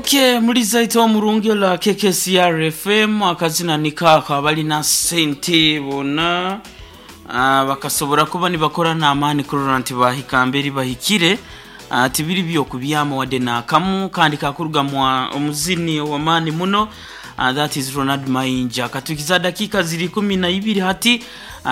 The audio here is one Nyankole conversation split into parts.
Okay, muliza ite omurungi ola KKCR FM akazina nikaako abalina sente bonna bakasobora kuba nibakora n'amaani kurora nti bahika mberi bahikire. Tibiri byokubyama wadde n'akamu kandi kakuruga mwa omuzini ow'amaani muno. That is Ronald Mayinja. Katukiza dakiika ziri 12 hati,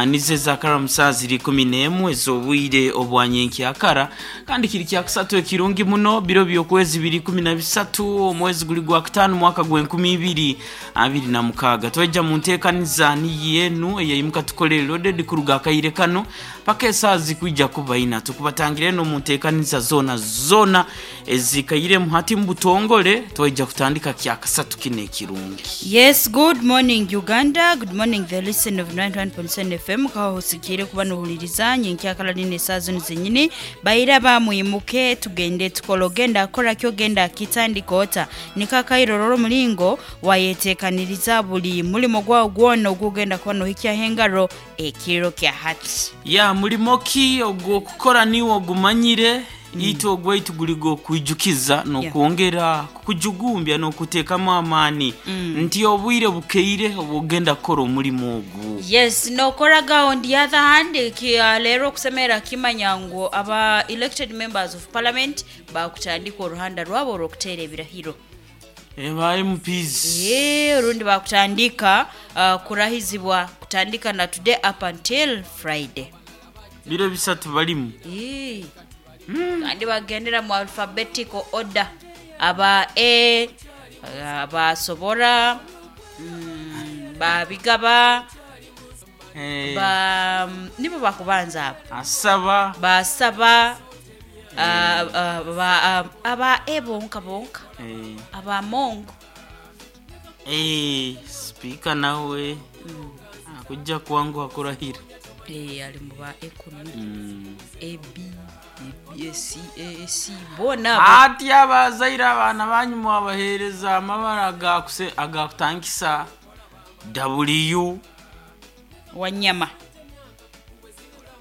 nizo ezakara saa ziri 11 ez'obwire obwa nyenkyakara, kandi kiri kyakusatu ekirungi muno, biro by'okwezi biri 13, omwezi guli gwa kutaano, mwaka gw'e2026. Twaija mu nteekaniza niyo enu eyaimuka tukole loaded kuruga akaire kano paka esaaha zikwija kuba ina. Tukubatangira eno mu nteekaniza zoona zoona ezikairemu hati mu butongole. Twaija kutandika kyakasatu kino ekirungi. Yes, good morning Uganda, good morning the listen of 91.7 FM. Kaho husikiire kuba nohuliriza nyenkyakala nina esaaha zinu zenyini. Bairaba mwimuke tugende tukole, ogenda akora ki, ogenda akitandika ota, niko akairorora omuringo wayeteekaniriza buli mulimo gwawe gwona ogugenda kuba nohikyaho engaro ekiro kya hati. Ya mulimo ki ogw'okukora niiwe ogumanyire. Itwe ogwaitu guri gw'okwijukiza n'okwongera kukujugumbya n'okuteekamu amaani nti obwire bukeire obw'ogenda kukora omulimo ogu. Yes, nokoraga. On the other hand, leero okusemerera kimanya ngu aba elected members of parliament bakutandika oruhanda rwabo orw'okuteera ebirahiro. Ba MPs. Ee, orundi bakutandika kurahizibwa kutandika na today up until Friday. Biro bisatu barimu. Ee. Kandi bagendera mu alphabetical order. Aba A, abasobora, babigaba, ba nibo bakubanza abo. Asaba. Basaba, aba A bonka bonka. Aba Mongo. Sipiika nawe akujja kwanguha kurahira. Ali mu ba A kunu. A, B, A, C, A, C, boona abo. Ati abazaire abaana banyu mwabaheereza amabara agakutangisa W. Wanyama.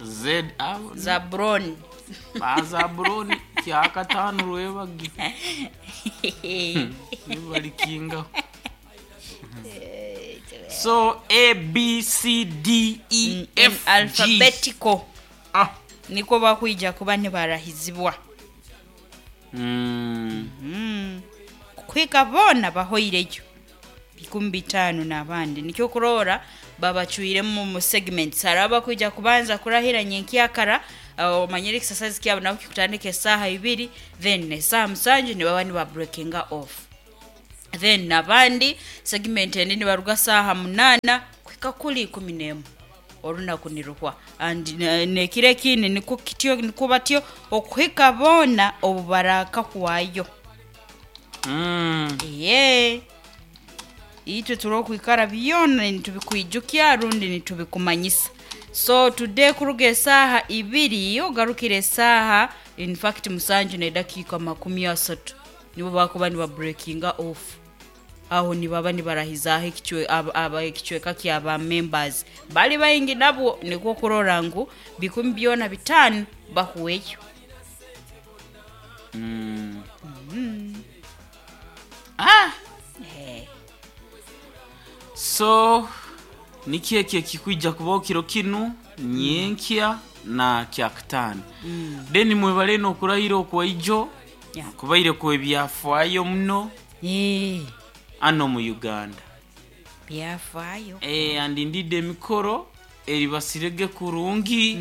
Z abo. Zabron. Ba Zabron kyakataano rwebagyo. Nibarikingaho. So A B C D E F G. Alphabetical. Nikwo bakwija kuba nibarahizibwa. Kuhika boona bahoireyo 5,000 n'abandi, nikyo kuroora babacwiremu mu segments. Hariho abakwija kubanza kurahira nyenkyakara, omanyire exercise kyabo nabo kikutandika esaaha 2, then esaaha 7 nibaba niba breakinga off. Then abandi segment endi nibaruga saaha 8 kuhika kuri 11 orunaku niruhwa. And n'ekiro ekindi nikwo kityo nikwo batyo okuhika boona obu barakahwayo. Eeh. Itwe turi okwikara byona nitubikwijukya rundi nitubikumanyisa. So today kuruga esaaha 2 ogarukire esaaha in fact 7 n'edakiika 30 nibo bakuba niba breakinga off. Aho nibaba nibarahizaaho ekicweka kya ba members. Bari baingi nabwo nikwo kurora ngu 5,000 bahweyo. So niki eki ekikwija kubaho kiro kinu nyenkya na kyakutaano. Then mwebale n'okurahira okwaijo kubaire kw'ebyafaayo muno hano mu Uganda. Byafaayo. And indeed emikoro eribasirege kurungi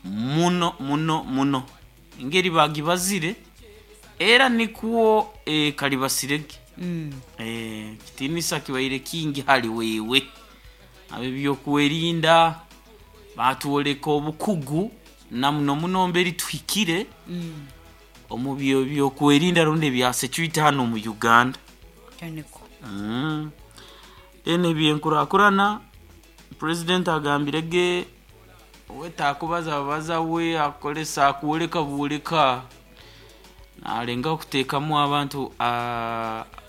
muno muno muno. Engeri bagibazire era nikwo karibasirege. Kitiinisa kibaire kingi hali wewe. Ab'ebyokwerinda batworeka obukugu na muno muno mberi tuhikire omu byokwerinda rundi ebya security hano mu Uganda. Niko. Then ebyenkurakurana, president agambire ge we takubaza babaza, we akoresa akwoleka bwoleka nalengaho kuteekamu abantu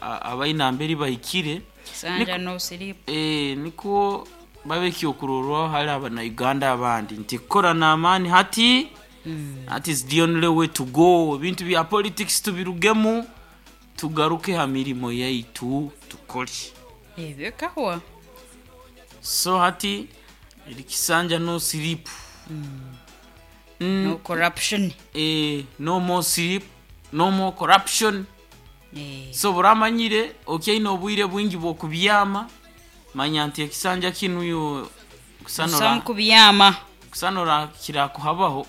abaine mberi bahikire. Sanja no sleep. Nikwo babe ekyokurorwaho hali abana-Uganda abandi nti kukora n'amaani hati that is the only way to go. Ebintu bya politics tubirugemu. Tugaruke ha mirimo yaitu tukore. Ebyo bikahwa. So hati eri kisanja no sleep. No corruption. Eh, no more sleep, no more corruption. So buramanyire okyaine obwire bwingi bw'okubyama, manya nti ekisanja kinu yo kusanura Busamu kubyama. Kusanura kirakuhabaho.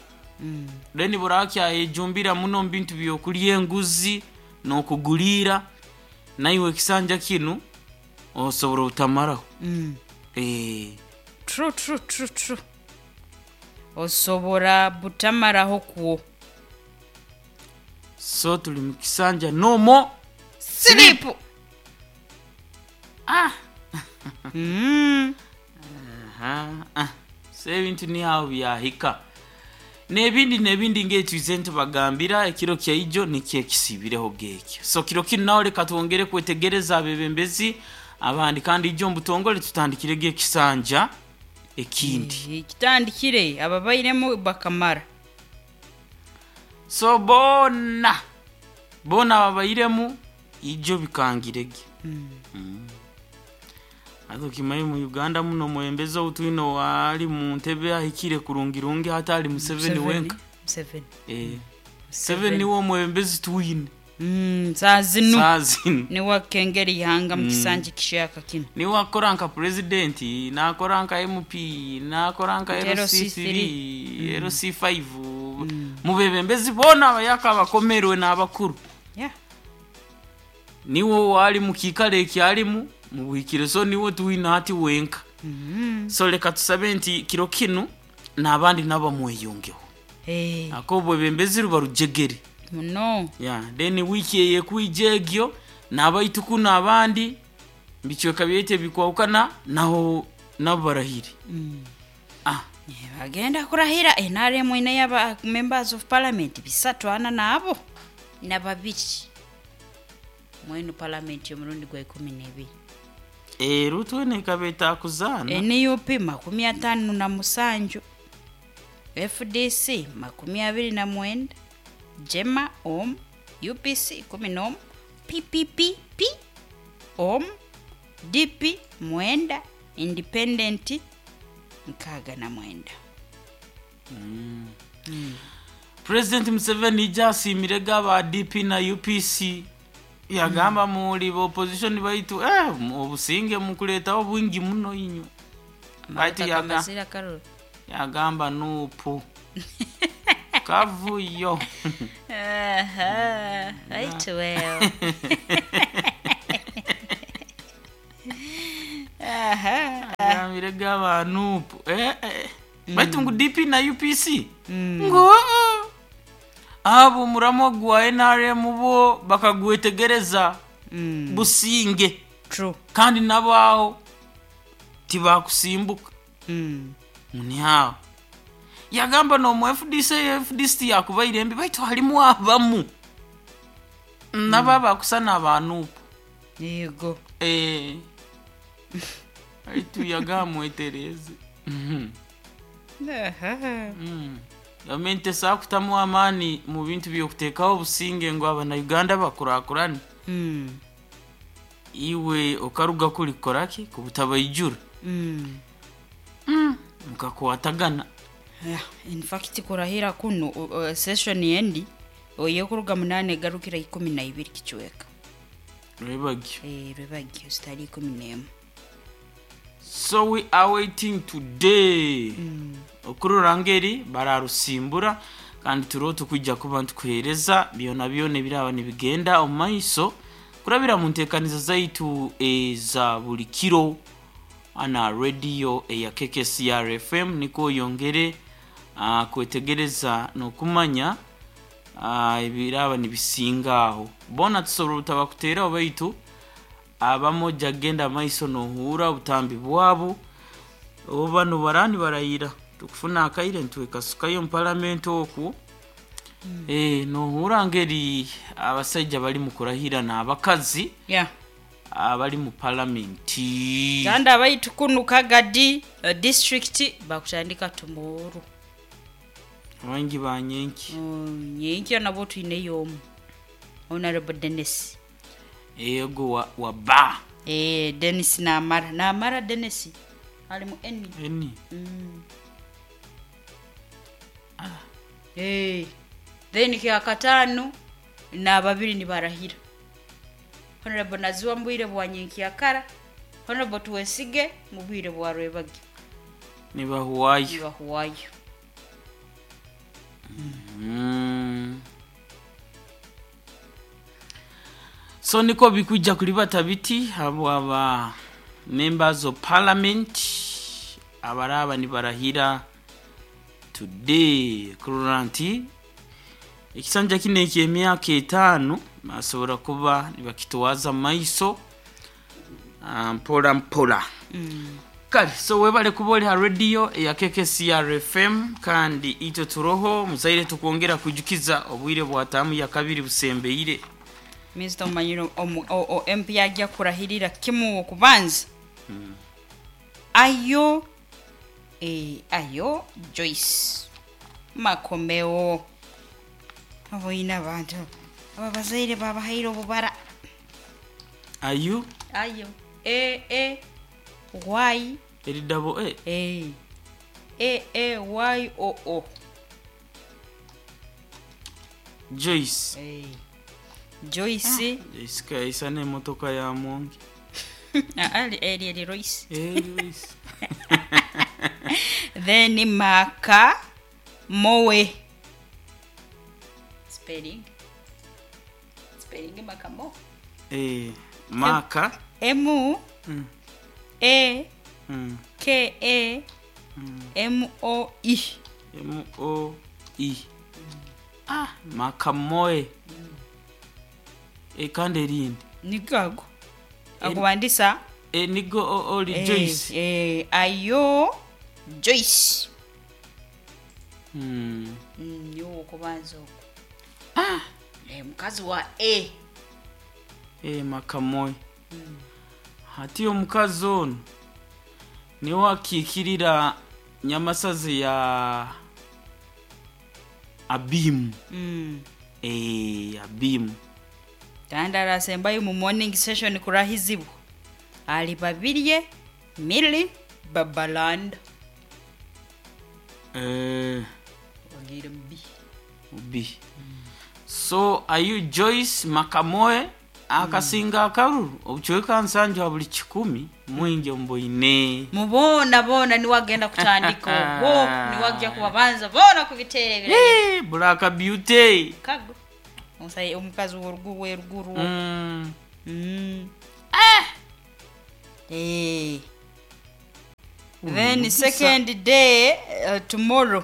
Then burakyayejumbira muno omu bintu by'okurya enguzi n'okuguriira, naiwe ekisanja kinu osobora obutamaraho. True true true true. Osobora butamaraho kwo. So turi mu kisanja no more sleep. Ah. Aha. Ah. So ebintu ni aho byahika. N'ebindi n'ebindi ng'etwize nitubagambira ekiro kyaijo nikyo ekisiibireho gekyo. So kiro kinu naho reka twongere kwetegereza abebembezi abandi kandi ijo omu butongore tutandikirege ekisanja ekindi. Kitandikire ababairemu bakamara. So boona boona ababairemu ijo bikangirege. Haza okimanye omu Uganda muno omwebembezi ou twine owaari mu ntebe ahikire kurungirungi hati ari Museveni wenka. Museveni. Museveni niwe omwebembezi twine. Saaha zinu. Saaha zinu. Niwe akukengera eihanga omu kisanja ekishyaka kinu. Niwe akukora nka purezidenti, naakora nka MP, naakora nka LC3, LC5, mu beebembezi boona abayaka abakomerwe n'abakuru. Niwe owaari mu kiikaro eki arimu mu buhikire so niwe twine hati wenka. So reka tusabe nti kiro kinu n'abandi nabo bamweyungeho. Ahakuba obwebembezi ruba rujegere. Muno. Yeah, then wiiki eyekwija egyo n'abaitu kunu abandi mubicweka byaitu ebikwahukana naho nabo barahire. Ah. Nibagenda kurahira NRM eineyo aba members of parliament bisatu ana naabo na babiri mwenu parliament y'omurundi gwa ikumi n'ebiri. Eru twena ekaba etakuzaana. NUP 57, FDC 29, JEMA omu, UPC 11, PPPP omu, DP mwenda, Independent 69. Purezidenti Museveni ijo asiimire ge aba DP na UPC yagamba muri ba opposition baitu eh, obusinge mukureetaho bwingi muno inywe. Baitu Amabata yaga- gamazire akaruru. yagamba nupu kavuyo. Aha, right well. Aha. Agambire ge aba nupu eh, eh. Baitu ngu DP na UPC ngu "Ah, abo omuramwa gwa NRM bo bakagwetegereza businge." True. Kandi nabo aho tibakusimbuka. Ngu ni aho. Yagamba n'omu FDC, FDC tiyakubaire mbi baitu harimu abamu nabo abakusana aba nupu. Yego. Baitu yagamba mwetereze. Aha. Gavumenti esobola kutamu amaani mu bintu by'okuteekaho obusinge ngu abana-Uganda bakurakurane. Iwe okaruga kuri kukora ki? Kubutabaijura. Mukakwatagana. Yeah, in fact kurahira kunu session endi ey'okuruga munaana egarukira 12 kicweka. Rwebagyo. Rwebagyo zitari 11. So we are waiting today. Okurora ngeri bararusimbura kandi turiho tukwija kuba nitukuheereza byona byona ebiraba nibigenda omu maiso kurabira mu nteekaniza zaitu eza buri kiro na rediyo eya KKCR FM nikwo oyongere kwetegereza n'okumanya ebiraba nibisinga aho. Boona tusobora obutabakuteeraho baitu abamwe oja kugenda maiso nohuura obutambi bwabo obu banu baraba nibarayira tukufuna akaire nitwekasukayo omu paramenti okwo. Nohuura ngeri abasaija bari mu kurahira n'abakazi abari mu paramenti. Kandi abaitu kunu Kagadi district bakutandika tomorrow. Abangi ba nyenki. Nyenkya nabo twineyo omu. Honorable Dennis. Ego wa, wa ba. Eh, Denis Namara. Namara Denis ali mu N. N. Eh. Then kyakataano n'ababiri nibarahira. Honorable Naziwa mu bwire bwa nyenkyakara, Honorable Twesige mu bwire bwa rwebagyo. Nibahuwayo. Nibahuwayo. So niko bikuja kulibata biti abo aba members of parliament abaraba nibarahira today kurora nti ekisanja kino eky'emyaka etaano basobora kuba nibakitwaza maiso mpora mpora. Kale so webale kuba oli ha radio eya KKCR FM, kandi itwe turoho muzaire tukwongera kujukiza obwire bwa taamu ya kabiri busembeire. Minisita omanyire MP ajja kurahirira kimu okubanza. Ayo ayo Joyce Makomeo. Oboine abantu aba bazaire babahaire obubara. Ayo Ayo E E Y eri double A. A E E Y O O. Joyce. Joyce. Joyce kaisa n'emotoka ya mwongi. Eri eri Royce. Joyce. Then Maka Moe. Spelling. Spelling Maka Mo. Maka. M A K A M O E. M O E. Maka Moe. Kandi erindi. Nigago. Akuwandisa. Nigo oli Joyce. Ayo Joyce. Niwo okubanza okwo. Mukazi wa A. Maka Moe. Hati omukazi ono niwe akiikirira Nyamasazi ya Abimu. Abimu. Kandi arasembayo mu morning session kurahizibwa. Ali Babirye Milly Babalanda. Wagira mbi. B. So ayu Joyce Makamoe akasinga akaruru obucweka nsanju ha buli 10 mwingi omboine. Mubona bona niwagenda kutandika obwo niwajja kubabanza bona kubitere ebiragiro. Black Beauty. Kago. Omusai omukazi w'orugu w'eruguru. Then second day tomorrow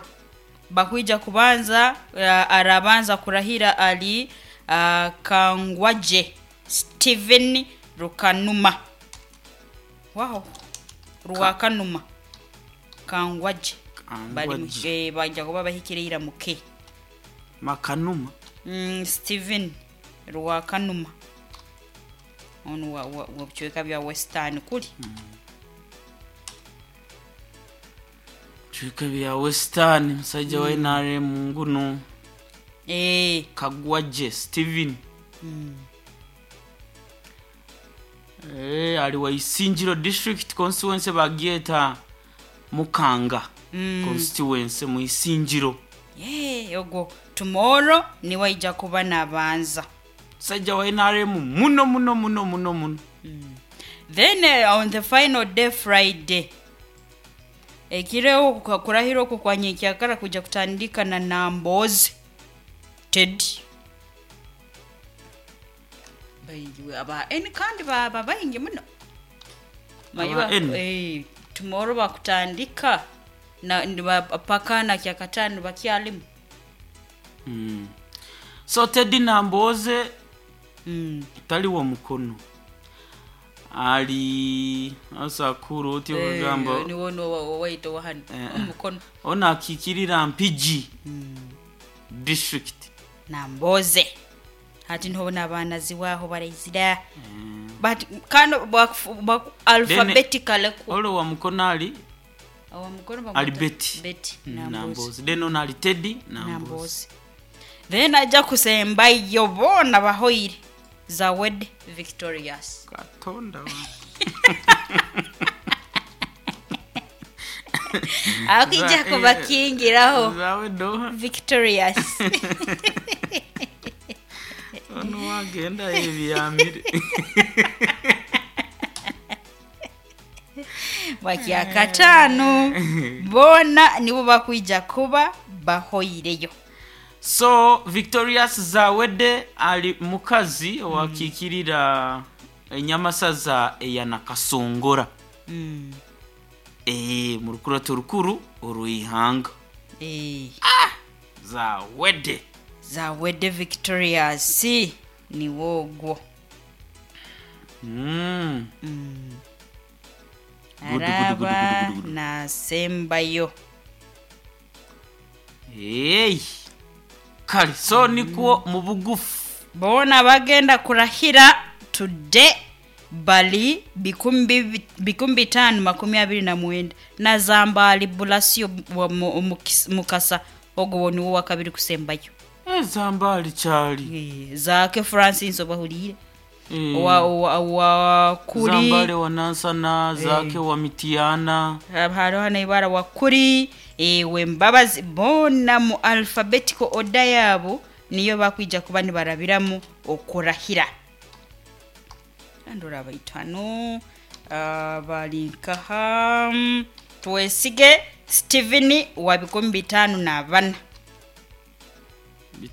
bakwija kubanza arabanza kurahira ali Kangwaje Steven Rukanuma. Wow. Ruwakanuma. Kangwaje. Bali bajja kuba bahikirira muke. Makanuma. Steven Ruwakanuma. Ono wa bicweka bya Western kuli. Bicweka bya Western musajja wa NRM nguno. Kagwaje Steven. Ali wa Isingiro District Constituency bagyeta Mukanga. Constituency mu Isingiro. Ogo tomorrow ni waija kuba nabanza. Sajja wa NRM muno muno muno muno muno. Then on the final day Friday ekireo kurahira okwo kwa nyenkyakara kuja kutandika na Nambozi Ted. Baingi aba N kandi baba baingi muno. Mayiba tomorrow bakutandika na paka na kyakatano bakyalimu. So Ted Namboze tali wa mukono ali asakuru oti ogamba ni wono waito wahano omukono ona akikirira Mpigi district Namboze hati ntobona abaana ziwaho baraizira but kano alphabetically olo wa mukono ali wa mukono ali Betty Betty Namboze then ona ali Teddy Namboze then ajja kusembayo bona bahoire. Zawedde Victorious. Katonda wange. Akwija kubakingiraho Zawedde oha? Victorious. Onu wagenda ebyamire. Bwakyakataano boona nibo bakwija kuba bahoireyo. So Victorious Zawedde ali mukazi owakiikirira enyamasaza eya Nakasongora. Mu rukurato rukuru orw'eihanga. Zawedde. Zawedde Victorious niwe ogwo. Gudu, gudu, gudu, Araba gudu, gudu. nasembayo. Hey. Kale so nikwo mu bugufu. Boona bagenda kurahira today bali 5529 na Zambaali Bulasio Mukasa ogwo niwo wakabiri kusembayo. Zambaali kyali. Zaake Francis obahuriire. Wa kuri Zambaali wa Nansana, Zaake wa Mitiana. Hariho n'ibara wa kuri Wembabazi boona mu alphabetical order yaabo niyo bakwija kuba nibarabiramu okurahira. Andora baitano bali nkaha Twesige Steven wa 54.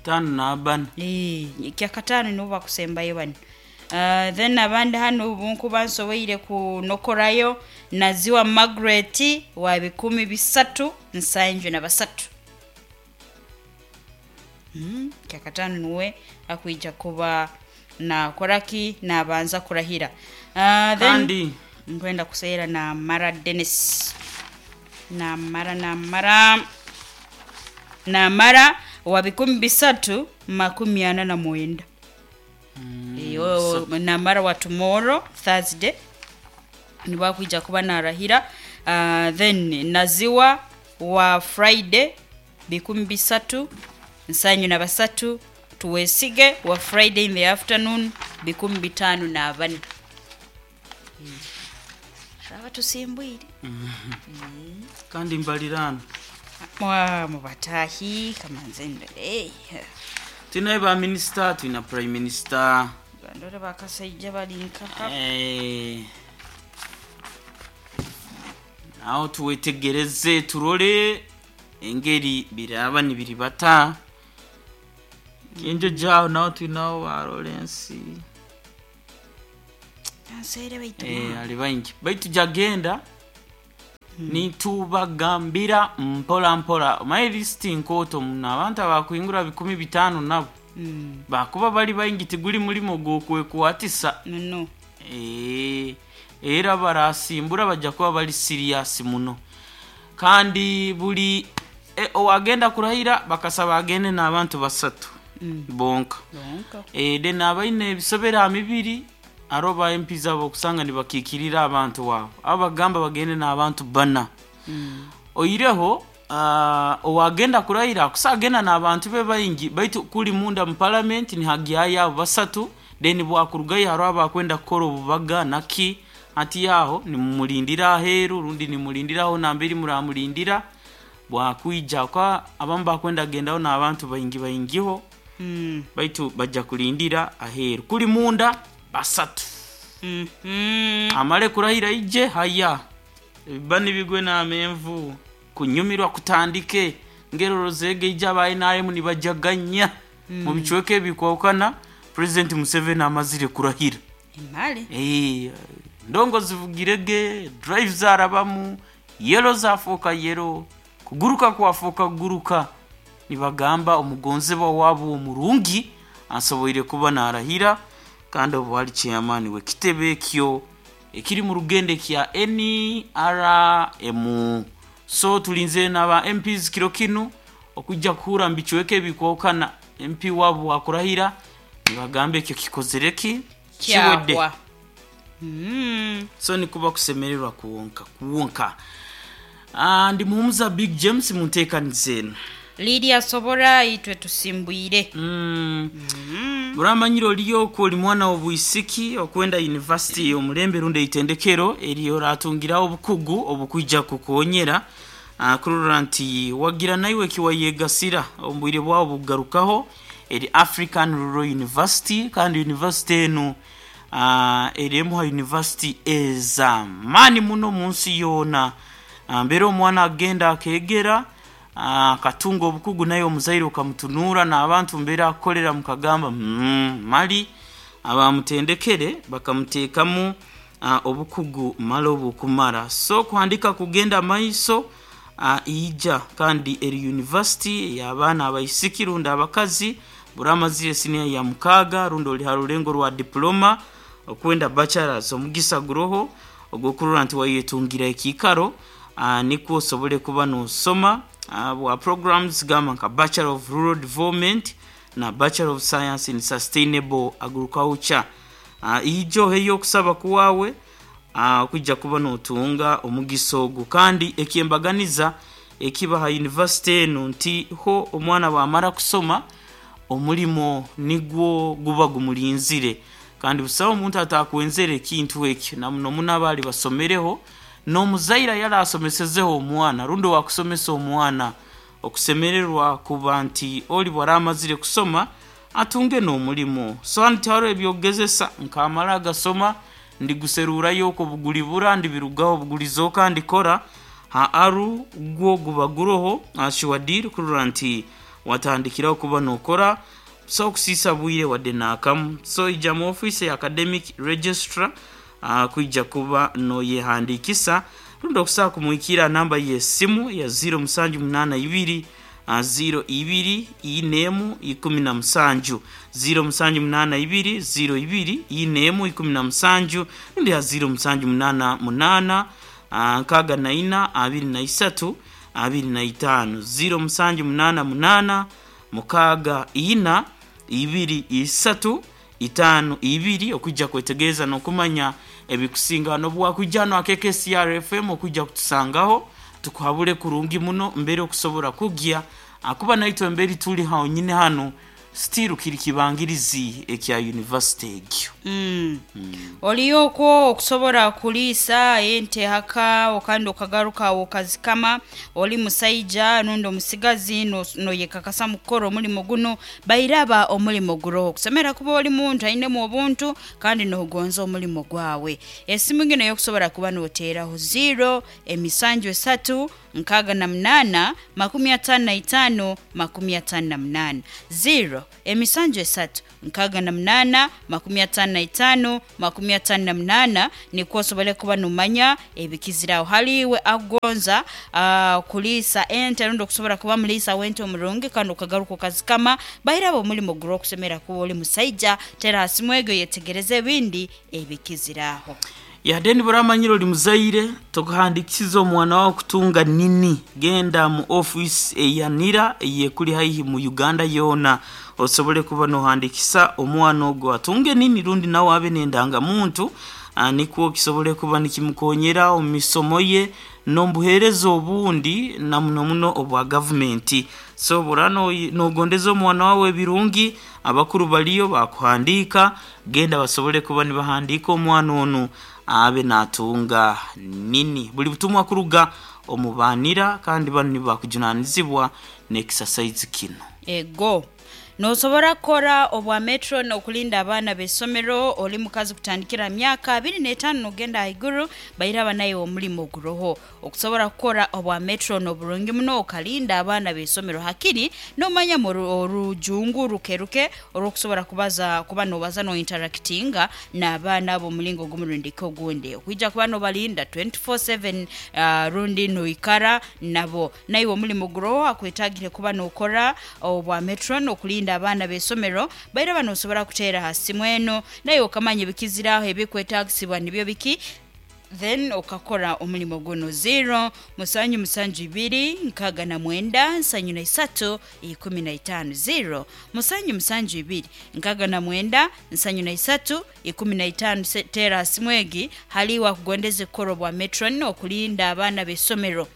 54. Kyakataano nibo bakusembayo bano. Then abandi hano bunkuba nsoboire kunokorayo Naziwa Margaret wa 373. Kyakataano niwe akwija kuba nakoraki nabanza kurahira. Then Kandi nkwenda kuseera na Mara Dennis. Namara wa 349. Iyo Namara wa tomorrow Thursday nibakwija kuba narahira. Then Naziwa wa Friday 373. Tuwesige wa Friday in the afternoon 54. Raba tusimbwire. Kandi mbalirano. Mwa mubatahi kamanze ndore. Tulina ba minister, tulina prime minister. Bandore bakasaija bali nkaha. Aho tuwetegereze turole engeri biraba nibiribata. Kinjo jaho naho tulinaho ba Lawrence. Ansere baitu. Ali baingi. Baitu jagenda nitubagambira mpola mpola. Omaye lisiti nkooto muno abantu abakuhingura 5,000 nabo. Bakuba bali baingi tiguli mulimo gw'okwekwatisa. No. Era barasimbura bajja kuba bali serious muno. Kandi buli owagenda kurahira bakasaba agende n'abantu basatu. Bonka. Bonka. Then abaine ebisobera mibiri aro ba MPs abo kusanga nibakikirira abantu wabo. Abagamba bagende n'abantu bana. Oyireho owagenda kurahira kusagenda n'abantu be baingi baitu kuli munda mu parliament ni hagiyaya abo basatu then bwakurugayo haro abakwenda kukora obubaga naki ati yaho nimumulindira aheru rundi nimulindiraho nambiri muramulindira bwakwija kwa abamu bakwenda gendaho n'abantu baingi baingiho. Baitu bajja kulindira aheru kuli munda basatu. Amale kurahira ije haya bani bigwe n'amenvu kunyumirwa kutandike ngeroro zege ija abaye NRM nibajaganya mu bicweke ebikwawukana. President Museveni amazire kurahira. Emale. Ndongo zivugirege, drive zarabamu, yelo zafoka yelo, kuguruka kwafoka kuguruka. Nibagamba omugonzebwa wabo omurungi asoboire kuba narahira kandi obu ali chairman we kitebe ekyo ekiri mu rugende kya NRM. So tulinze n'aba MPs kiro kinu okujja kuhura mbicweke ebikwokana MP wabo akurahira nibagamba ekyo kikozereki kiwedde. Kyahwa. So nikuba kusemererwa kuwonka kuwonka. Ndi muhumuza Big James munteekaniza eno. Lydia Sobora itwe tusimbwire. Oramanyire oriyo okwo ori mwana w'obwisiki okwenda yunivasite ey'omulembe rundi eitendekero eri oratungiraho obukugu obukwija kukukonyera kurora nti wagira naiwe ekiwayegasira omu bwire bwawe obukugarukaho. Eri African Rural University kandi yunivasite enu eri emu ha yunivasite ez'amaani muno omu nsi yoona. Mbere omwana agenda akeegera akatunga obukugu naiwe omuzaire okamutunuura n'abantu mbere akukorera mukagamba mm, mali abamutendekere bakamuteekamu obukugu mali obukumara. So kuhandika kugenda maiso ija kandi eri yunivasite ey'abaana abaisiki rundi abakazi buri amazire siniya ya mukaaga rundi ori ha rurengo rwa diploma okwenda bachelors omugisa guroho ogw'okurora nti wayetungira ekiikaro nikwo osobole kuba nosoma bwa programs gamba nka Bachelor of Rural Development na Bachelor of Science in Sustainable Agriculture. Ija oheyo okusaba kwawe okwija kuba notunga omugisa ogu kandi ekyembaganiza ekiba ha yunivasite enu nti ho omwana bwamara kusoma omulimo nigwo guba gumurinzire kandi busaho omuntu atakwenzere ekintu ekyo na muno muno abaali basomereho n'omuzaire yari asomesezeho omwana rundi owakusomesa omwana okusemererwa kuba nti ori bwara amazire kusoma atunge n'omulimo. So hanu tihariho ebyokugezesa nkamara agasoma ndiguserurayo okwo bugulibura ndibirugaho bugulizoka ndikora ha aru gwo guba guroho sure deal kurora nti watandikiraho kuba nokora so okusiisa bwire wadde naakamu. So ija mu ofiisi ya academic registrar kwija kuba noyehandiikisa rundi okusobola kumuhikirra ha namba y'esimu ya 0782 02 41 17 0782 02 41 17 rundi ha 0788 64 23 25 0788 64 23 52 okwijja kwetegereza n'okumanya ebikusinga n'obu wakwija hanu aha KKCR FM okwija kutusangaho tukuhabure kurungi muno mbere okusobora kugya ahakuba naitwe mbere turi honyine hanu still kiri kibangirizi ekya yunivasite egyo. Oli okwo okusobora kuliisa ente haka kandi okagaruka agho okazikama, oli musaija rundi omusigazi noyekakasa mu kukora omulimo guno, bairaba omulimo guroho. Okusemerera kuba oli muntu ainemu obuntu kandi nogonza omulimo gwawe. Esimu gino ey'okusobora kuba noteeraho, ziiro emisanju esatu 68 55 58, ziiro emisanju esatu 68 55 58 nikwo osobole kuba nomanya ebikizire agho. Hali iwe akugonza kuliisa ente rundi okusobora kuba muliisa w'ente omurungi kandi okagaruka okazikama, bairaba omulimo guri okusemera kuba oli musaija, tera ha simu egyo oyetegereze ebindi ebikizire agho. Yade niba oramanyire ori muzaire, tokuhandikisiza omwana wawe kutunga nini, genda mu ofiisi eya NIRA eyekuri haihi mu Uganda yoona osobole kuba nohandikisa omwana ogwo atunge nini rundi nawe abe n'endangamuntu nikwo kisobole kuba nikimukonyera omu misomo ye n'omu buheereza obundi na muno muno obwa gavumenti. So bworaba nogondeza omwana wawe ebirungi, abakuru bariyo bakuhandiika, genda basobole kuba nibahandiika omwana onu abe natunga nini. Buli butumwa kuruga omu ba NIRA kandi banu nibo bakujunanizibwa n'ekisasaizi kinu. Ego. Nosobora kukora obwa metron okulinda abaana b'eisomero oli mukazi kutandikira ha myaka abiri n'etaano n'ogenda ahaiguru bairaba naiwe omulimo guroho. Okusobora kukora obwa metron oburungi muno okalinda abaana b'eisomero hakiri n'omanyamu orujungu ruke ruke orw'okusobora kubaza kuba nobaza no interactinga n'abaana abo omulingo ogumu rundi ki ogundi. Okwija kuba nobalinda 24/7 rundi noikara nabo. Naiwe omulimo guroho akwetagire kuba nokora obwa metron okulinda abaana b'eisomero bairaba nosobora kuteera ha simu eno naiwe okamanya ebikizire agho ebikwetagisibwa nibyo biki then okakora omulimo guno. Ziiro musanju musanju ibiri 69 73 15 ziiro musanju musanju ibiri 69 73 15 teera ha simu egi hali iwe akugondeze kukora obwa metron okulinda abaana b'eisomero.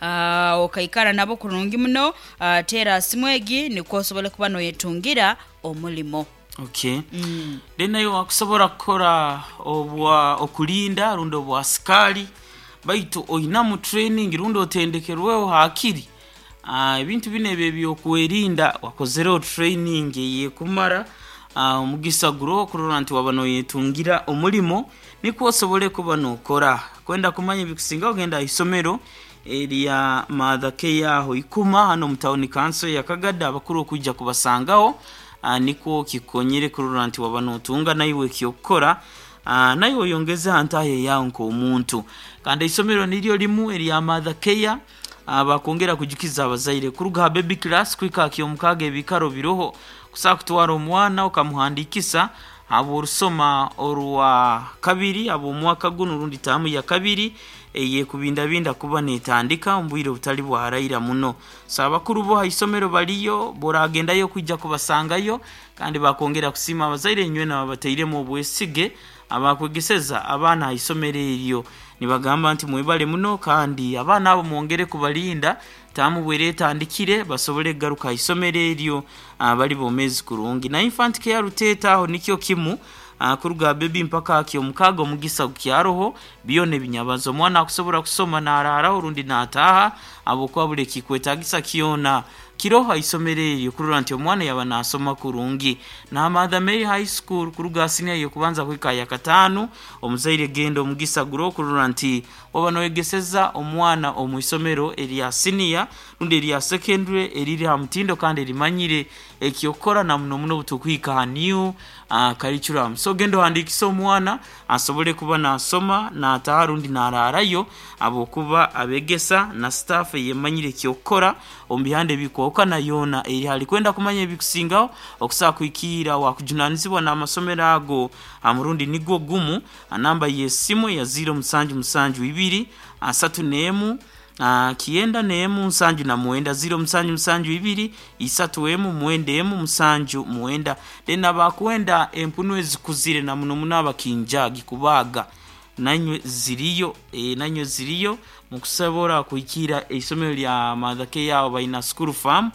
Okaikara nabo kurungi muno. Teera aha simu egi nikwo osobole kuba noyetungira omurimo. Okay. Then naiwe wakusobora kukora obwa okulinda rundi obwa sikaari baitu oinamu training rundi otendekerweho hakiri ebintu binu ebi ebyokwerinda wakozereho training eyekumara, omugisa guroho kurora nti waba noyetungira omurimo nikwo osobole kuba nokora. Kwenda kumanya ebikusingaho genda ahaisomero erya Mother Care aho Ikuma hanu omu town council ya Kagadi abakuru okwija kubasangaho, nikwo kikukonyere kurora nti waba notunga naiwe ekyokukora, naiwe oyongeze ha ntaaha eyawe nk'omuntu. Kandi eisomero niryo rimu erya Mother Care, bakwongera kujukiza abazaire kuruga ha baby class kuhika aha kyomukaaga ebiikaro biroho kusobola kutwara omwana okamuhandiikisa habw'orusoma orwa kabiri habw'omwaka gunu rundi taamu ya kabiri eyekubindabinda kuba netandika omu bwire obutali bwa haraira muno. So abakuru bo ha isomero bariyo, bw'oragendayo kwija kubasangayo kandi bakwongera kusiima abazaire inywena ababatairemu obwesige abakwegeseza abaana ha isomero eryo. Nibagamba nti mwebale muno kandi abaana abo mwongere kubalinda taamu bwera etandikire basobole kugaruka ha isomero eryo bali bomeezi kurungi. Na Infant Care Ruteeta aho nikyo kimu, kuruga aha baby mpaka aha kyomukaaga omugisa gukyaroho, byona ebinyabazo. Omwana akusobora kusoma naraaraho rundi nataaha habwokuba buli ekikwetagisa kyona kiroho ha isomero eryo kurora nti omwana yaba nasoma kurungi. Na Mother Mary High School kuruga aha siniya y'okubanza kuhika aha yakataano, omuzaire genda omugisa guroho kurora nti waba noyegeseza omwana omu isomero erya siniya rundi erya secondary eriri ha mutindo kandi erimanyire ekyokukora na muno muno obutukuhika aha new curriculum. So genda ohandiikise omwana asobole kuba nasoma nataaha rundi naraarayo habwokuba abegesa na staff eyemanyire ekyokukora omu bihanda ebikwahukana yoona eri hali. Kwenda kumanya ebikusingaho okusobola kuhikiira owakujunanizibwa n'amasomero ago ha murundi nigwo gumu ha namba y'esimu eya ziiro musanju musanju ibiri asatu n'emu kyenda n'emu nsanju na mwenda, ziiro musanju musanju ibiri isatu emu mwenda emu musanju mwenda. Then abakwenda empunu ezikuzire na muno muno abakinjagi kubaaga nainywe ziriyo, nainywe ziriyo mukusobora kuhikiira eisomero lya Mother Care aho baina school farm,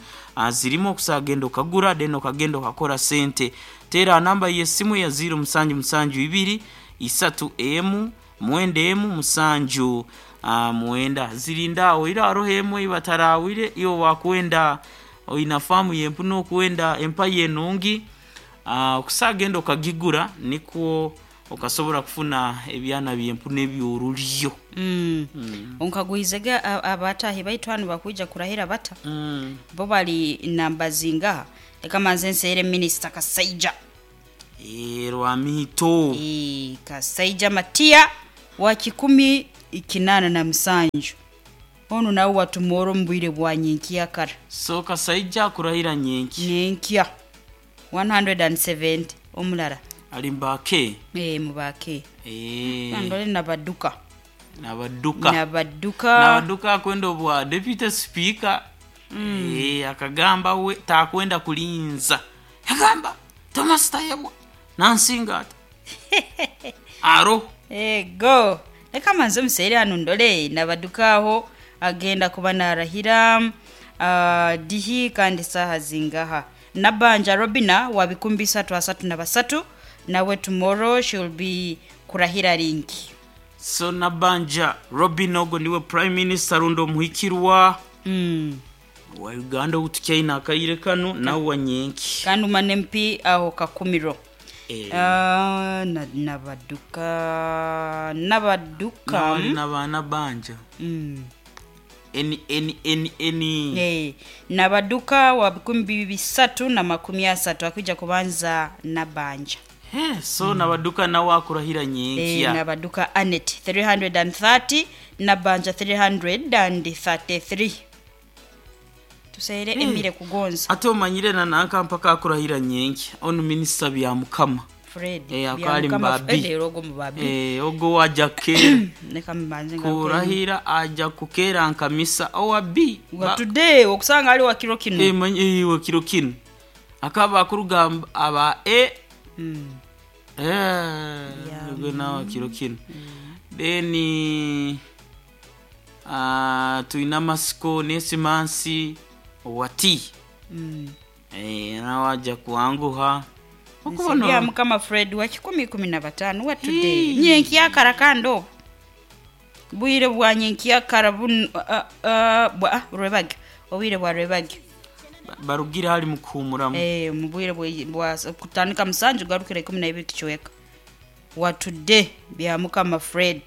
zirimu okusobola kugenda okagura then okagenda okakora sente. Teera aha namba y'esimu eya ziiro musanju musanju ibiri isatu emu mwenda emu musanju mwenda. Zirinda aho ira haroho emwe ei bataraahwire iwe wakwenda oina faamu y'empunu okwenda empaya enungi, okusobola kugenda okagigura nikwo okasobora kufuna ebyana by'empunu eby'orulyo. Onkagwizege abataahi baitu hanu bakwija kurahira bata? Bo bali namba zingaha? Leka manze nseere Minisita Kasaija. Rwamito. Kasaija Matia wa 187. Onu nawe watumoora omu bwire bwa nyenkyakara. So Kasaija akurahira nyenkya? Nyenkya. 170 omulara. Ali mu ba K? Mu ba K. Ndole Nabaduka. Nabaduka. Nabaduka. Nabaduka akwenda obwa Deputy Speaker. Akagamba we takwenda kulinza. Yagamba Thomas Tayebwa nansinga ata? Aroho. Ego. Leka manze omuseere hanu ndole Nabaduka agho agenda kuba narahira dihi kandi saaha zingaha. Nabanja Robina wa 333 nawe tomorrow she will be kurahira ringi. So Nabanja Robina ogwo niwe Prime Minister rundi omuhikirwa wa Uganda ou tukyaine akaire kanu nawe wa nyenki. Kandi Woman MP aho Kakumiro. Nabaduka, Nabaduka. Nawe ali na ba Nabanja. N N N N. Nabaduka wa 330 akwija kubanza Nabanja. He, so Nabaduka nawe akurahira nyenkya. Nabaduka Annet 330, Nabanja 333. Tuseere Emire Kugonza. Ate omanyire na nanka mpaka akurahira nyenkya onu Minisita Byamukama. Fred Akaba ari Byamukama mu ba B. Fred era ogwo mu ba B. Ogwo waja kukeera. Leka mbanze ngaruke. Kurahira aja kukeera nka misa owa B. Wa today okusanga ali wa kiro kino. Wa kiro kino. Akaba akuruga aba A. Ogwo nawe wa kiro kino. Then Twine amasiko n'esimansi owa T. Nawe aja kuwanguha. Okubona Bya Mukama Fred wa 115 wa today. Nyenkyakara kandi obu. Bwire bwa nyenkyakara bunu bwa rwebagyo. Obwire bwa rwebagyo. Barugire hali mukuhumuramu. Mu bwire bwa kutandika musanju garukira 12 kicweka. Wa today bya Mukama Fred.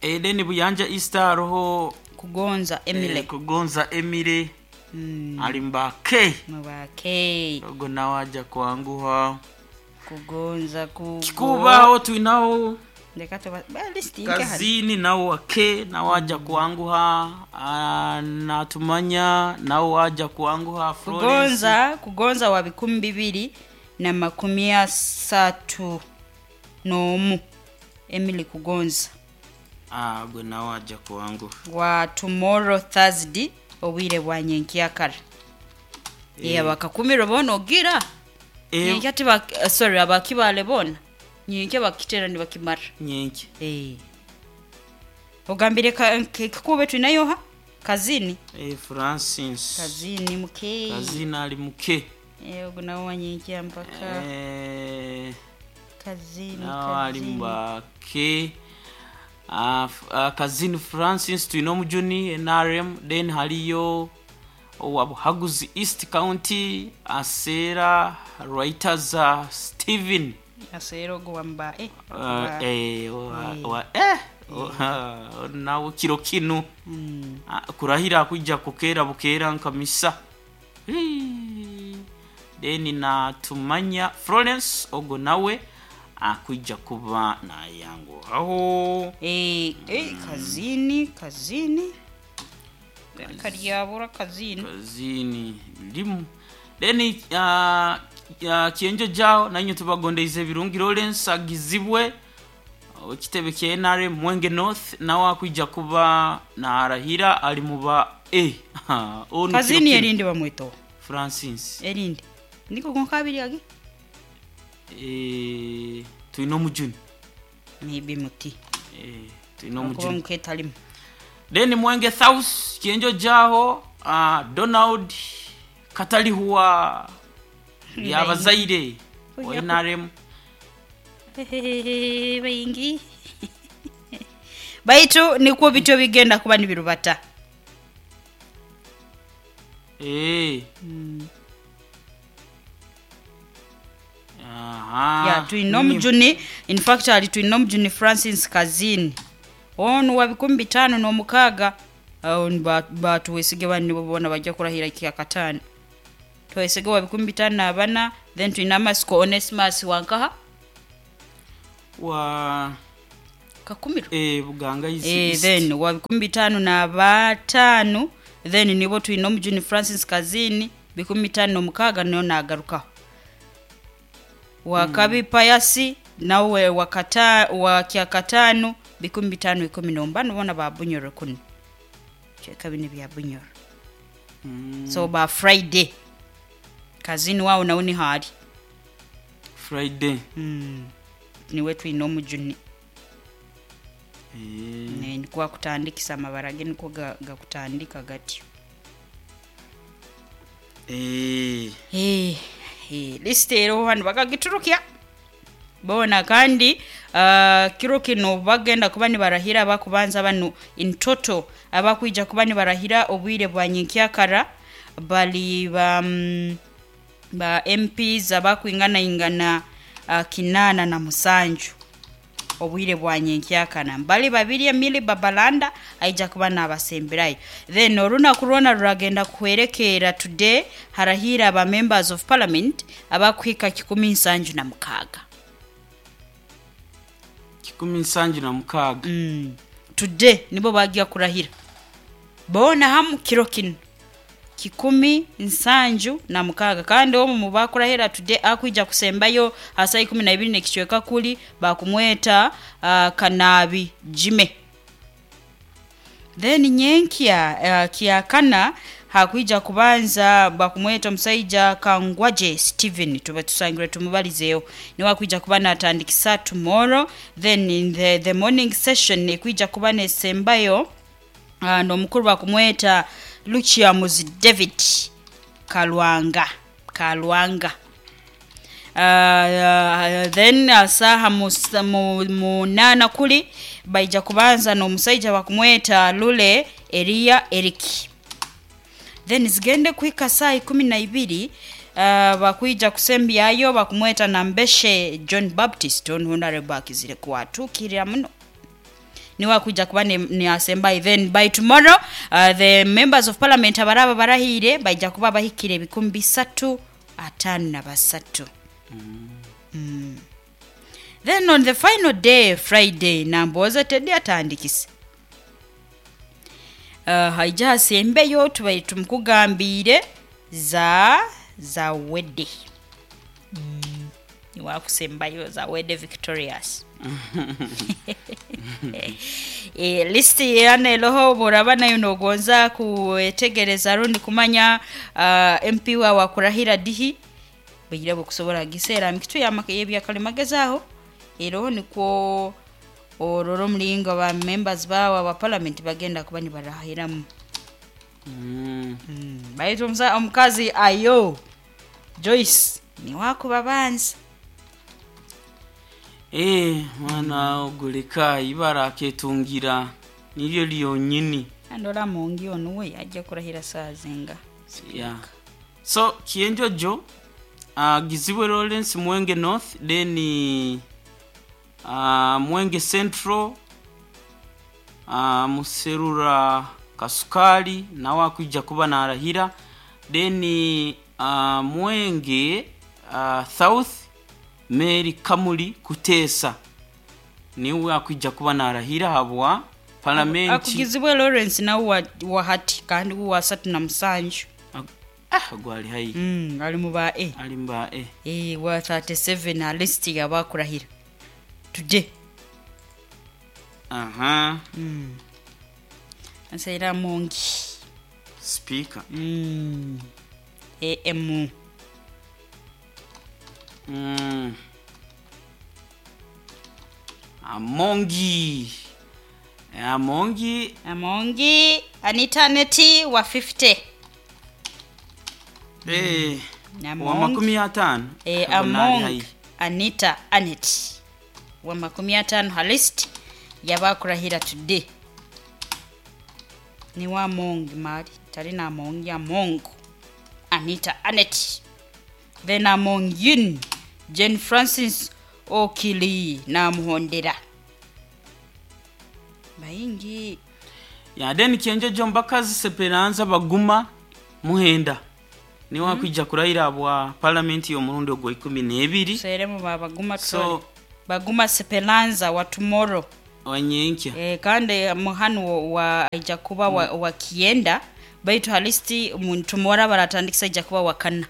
Then Buyanja Easter hariho Kugonza Emile. Kugonza Emile. Ali mbake. Mubake. Ogo nawe aja kuanguha. Kugonza kugo. Kikubaho twinaho Ndeka tuba ba list inke hali. Kazini nawe wake nawe aja kuanguha. Natumanya nawe aja kuanguha. Florence. Kugonza wa 2031. Emily Kugonza. Gwe nawe aja kuanguha. Wa tomorrow Thursday obwire bwa nyenkyakara. Bakakumira bona ogira. Nyenkya tiba, sorry, abakibale bona. Nyenkya bakitera nibakimara. Nyenkya. Ogambire kikube tunayo ha? Kazini. Francis. Kazini muke. Kazini ali muke. Ogo nawe wa nyenkya mpaka. Kazini, Nawe ali kazini. mbake. Kazini Francis twine omujuni NRM, then haliyo owa Buhaguzi East County Asera Writers Steven. Asera ogo wamba, Wa, nawe kiro kinu. Kurahira kuja kukera bukera nkamisa. Then na tumanya Florence ogo nawe akuja kuba nayangu aho. Kazini, kazini. Karyabura kazini. Kazini limu. Then kienjo jao nanyo tubagondeize birungi Lawrence agizibwe ekitebe kya NRM Mwenge North nawe akuja kuba na arahira ali muba Onu Kazini kiro kinu. erindi bamwito. Francis. Erindi. Niko konkabiri age? Twine omujuni. Maybe muti. Twine Kuba omujuni. muketalimu. Then Mwenge South kienjo jaho Donald Katalihuwa yabazaire wa NRM. Bayingi. Baitu nikwo bityo bigenda kuba nibirubata. Aha. Ya twine omujuni, in fact ali twine omujuni Francis Kazini. Onu wa 56. Aho batuwesige bani bona bajja kurahira kya katano. Twesige wa 54, then twine amasiko Onesimus wankaha Wa Kakumiro. Buganga East. Then wa 55, then nibo twine omujuni Francis Kazini 56 niyo nagarukaho. Wa Kabi Payasi nawe wa kyakatano 515 bona ba Bunyoro kuno. Kyeka bine bya Bunyoro. So ba Friday Kazini wao nawe ni hali. Friday. Niwe twine omujuni. Nikuwa kutandikisa amabara ge niko gakutandika gatyo. List ero hano bakagiturukya. Bona kandi kiro kino bagenda kuba nibarahira abakubanza bano in total abakwija kuba nibarahira obwire bwa nyenkyakara bali ba MPs abakwingana ingana 87 obwire bwa nyenkyakana. Bali babiri Emily Babalanda aija kuba n'abasemberayo. Then olunaku lwona ruragenda kuhwerekera today harahira aba members of parliament abakuhika 176. 176. Today nibo bagiya kurahira. Bona hamu kiro kino 176 kandi omu mu bakurahira today akwija kusembayo asa 12 nekicweka kuli bakumweta Kanabi Jime. Then nyenkya kiakana hakwija kubanza bakumweta omusaija Kangwaje Steven, tuba tusangire tumubalizeyo niwe akwija kuba natandikisa tomorrow. Then in the morning session ekwija kuba nesembayo N'omukuru bakumweta Lukiamuzi David Kalwanga Kalwanga. Then saaha munaana kuli baija kubanza n'omusaija bakumweta Lule Eliya Eric. Then zigende kuhika saaha ikumi na ibiri bakwija kusembyayo bakumweta Nambeshe John Baptist onu Honourable akizire kuatuukirira muno. Niwe akwija kuba ni asembayo then by tomorrow the members of parliament abaraba barahiire baija kuba bahikire 353. Then on the final day Friday Nambooze Teddy atandikise haija hasembeyo tubaire tumukugambiire za Zawedde. Niwe akusembayo Zawedde Victorious. List hanu eroho bworaba nayo nogonza kwetegereza rundi kumanya MP wawe akurahira dihi, bwire bwokusobora kugiseera mikitu y'ebyakalimagezi aho eroho nikwo orore omuringo ba members bawe aba parliament bagenda kuba nibarahiramu. Baitu omukazi Ayo Joyce niwe akubabanza. Eeh mwana ogu leka ibara aketungira niryo ryonyini. Kandi ori Amongi onu we aija kurahira saaha zinga? Yeah. So Kienjojo uh, Gizibwe Lawrence Mwenge North then uh, Mwenge Central uh, Muserura Kasukali nawe akwija kuba narahira then uh, Mwenge uh, South Mary Kamuli Kuteesa niwe akwija kuba narahira habwa palamenti. Akugizibwe Lawrence nawe wa, wa hati kandi wa 37. Ah, ogwo ali haihi. Ali mu ba A. Ali mu ba A. Eh, wa 37 ha list y'abakurahira. Tugye. Aha. Nsaira Amongi. Speaker. AM. Amongi. Amongi. Amongi Anita Neti wa 50. Eh. Wa 50. Eh, Among Anita Anet wa 50 ha list y'abakurahira today. Ni wa Among mali tari na Among Among Anita Anet. Then Among Yin Jane Francis Okili namuhondera. Baingi. Ya then Kienjojo Mbakazi Seperanza Baguma Muhenda. Niwe akwija kurahira bwa parliament y'omurundi ogwa 12. Seremu ba Baguma So Baguma Seperanza wa tomorrow. Wanyenkya. Kandi muhanu wa aija kuba wa Kienda baitu halisti muntu tomorrow baratandikisa aija kuba wa kana.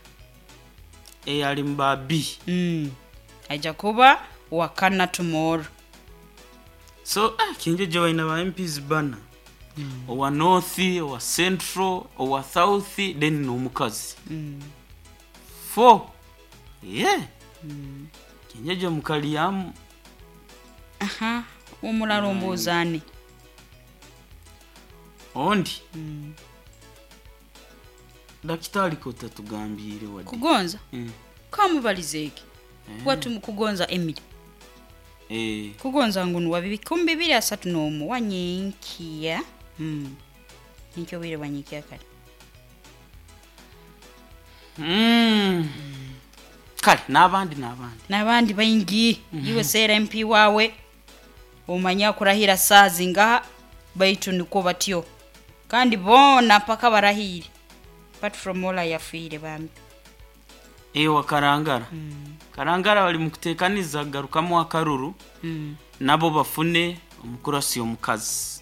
Ali mba B. Aija kuba wa kana tomorrow. So Kienjojo baina ba MPs bana. Owa North, owa Central, owa South, then n'omukazi. 4. Yeah. Kienjojo mukali yamu. Aha, omulala ombuuzaani. Ondi. Dakitari kotatugambire wadde. Kugonza? Kamubalize eki. Watu kugonza Emily. Kugonza ngu wa 2031 wanyenkiya. Nikyo bwire bwanyenkiya kare. Kale n'abandi N'abandi baingi. Iwe seera MP wawe omanya kurahira saaha zingaha baitu nikwo batyo. Kandi boona mpaka barahire. Apart from all yafiire bambi. Wa Karangara. Karangara bali mukuteekaniza garukamu akaruru. Nabo bafune omukurasi omukazi.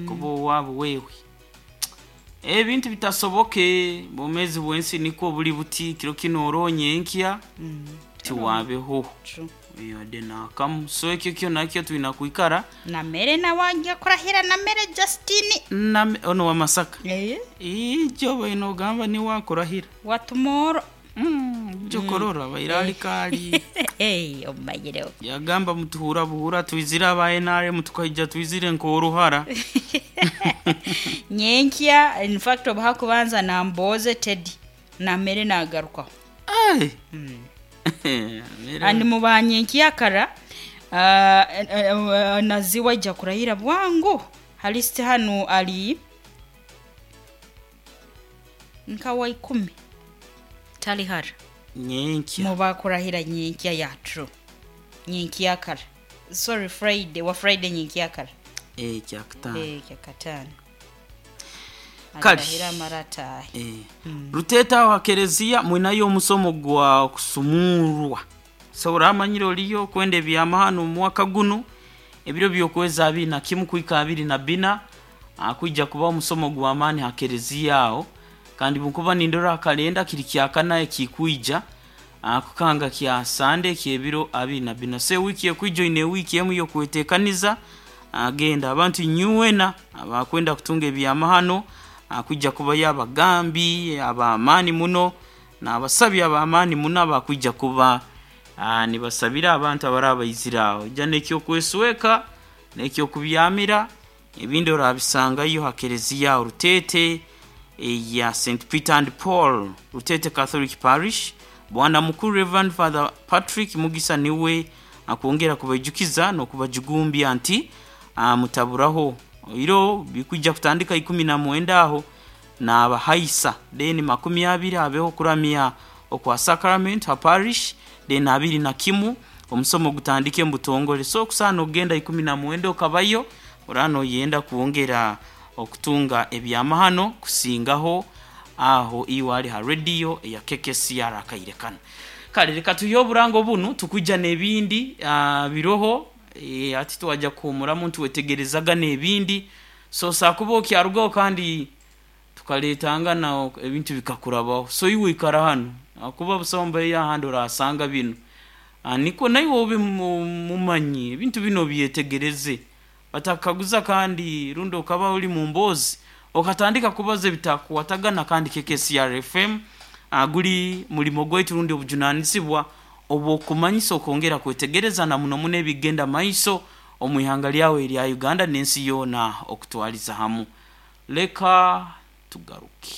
Kuba owaabo wewe. Ebintu bitasoboke bwomezi bwensi nikwo buli buti kiro kino oronye enkya tiwabeho. Yade nakamu. So ekyo kyo nakyo twina kwikara. Na mere na wajja kurahira na mere Justine. Na ono wa Masaka. Ijo baino gamba ni wakurahira. Wa tomorrow. Jokorora bairali kali. Omayire. Yagamba mutuhura buhura twizira aba NRM tukaija twizire nkoruhara. Nyenkya, in fact obu hakubanza nambooze Teddy namere nagarukaho. Ai! And mu ba nyenkyakara Naziwa aija kurahira bwangu ha list hanu ari nka wa ikumi tari hara. Nyenkya. Mu bakurahira nyenkya ya true nyenkyakara sorry Friday wa Friday nyenkyakara. Eh, kyakutaano. Eh, kyakataano. Kale. Ararahira amare ataahe. Eh. Ruteeta aho ha kereziya mwinayo omusomo gwa kusumurwa. So oramanyire oriyo kwenda ebyamahano omu mwaka gunu ebiro by'okwezi 21 kuhika 24 kwija kuba omusomo gw'amaani ha kereziya aho. Kandi bwenkuba nindora ha kalenda kiri kyakana ekikwija kukanga kya Sande eky'ebiro 24. So ewiiki ekwija oine ewiiki emu y'okweteekaniza genda abantu inywena abakwenda kutunga ebyamahano kwija kubayo abagambi ab'amaani muno n'abasabi ab'amaani muno abakwija kuba nibasabira abantu abaraba baizire aho. Ija n'eky'okwesweka n'eky'okubyamira ebindi orabisangayo ha kereziya aho Ruteete eya St Peter and Paul Ruteete Catholic Parish. Bwana Mukuru Rev Father Patrick Mugisa niwe akwongera kubaijukiza n'okubajugumbya nti mutaburaho iro bikwija kutandika 19 aho n'abahaisa then 20 habeho kuramya okwa sacrament ha parish then 21 omusomo gutandike mu butongole. So okusaana okugenda 19 okabayo oraba noyenda kwongera okutunga ebyamahano kusingaho aho iwe ali ha radio eya KKCR akaire kano. Kale leka tuhe oburango bunu tukwija n'ebindi biroho hati twaja kuhumuramu nitwetegerezaga n'ebindi so sakuba okyarugaho kandi tukaletangana ebintu bikakurabaho. So iwe ikara hanu ahakuba busaho mbeeyo ahandi orasanga binu. Nikwo naiwe obe mumanyi ebintu binu obyetegereze batakakukaguza kandi rundi okaba oli mu mboozi okatandika kubaza ebitakukwatagana kandi KKCR FM guli mulimo gwaitu rundi obujunanizibwa obw'okukumanyisa okwongera kwetegereza na muno muno ebikugenda maiso omu ihanga lyawe erya Uganda n'ensi yoona okutwaliza hamu. Leka tugaruke.